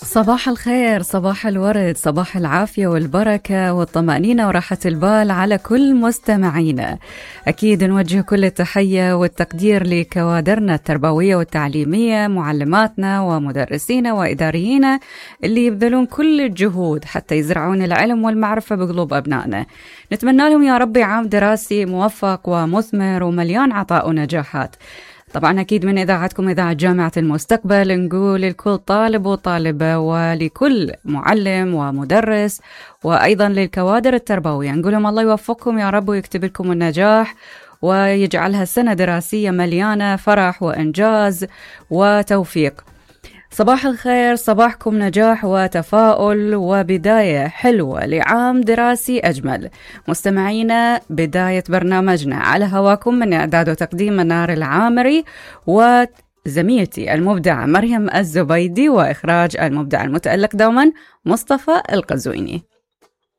صباح الخير، صباح الورد، صباح العافية والبركة والطمأنينة وراحة البال على كل مستمعينا. أكيد نوجه كل التحية والتقدير لكوادرنا التربوية والتعليمية، معلماتنا ومدرسينا وإداريين اللي يبذلون كل الجهود حتى يزرعون العلم والمعرفة بقلوب أبنائنا. نتمنى لهم يا ربي عام دراسي موفق ومثمر ومليان عطاء ونجاحات. طبعا أكيد من إذاعتكم إذاعة جامعة المستقبل نقول لكل طالب وطالبة ولكل معلم ومدرس وأيضا للكوادر التربوية نقول لهم الله يوفقكم يا رب ويكتب لكم النجاح ويجعلها سنة دراسية مليانة فرح وإنجاز وتوفيق. صباح الخير، صباحكم نجاح وتفاؤل وبداية حلوة لعام دراسي أجمل. مستمعينا، بداية برنامجنا على هواكم من إعداد وتقديم منار العامري وزميلتي المبدعة مريم الزبيدي وإخراج المبدع المتألق دوما مصطفى القزويني.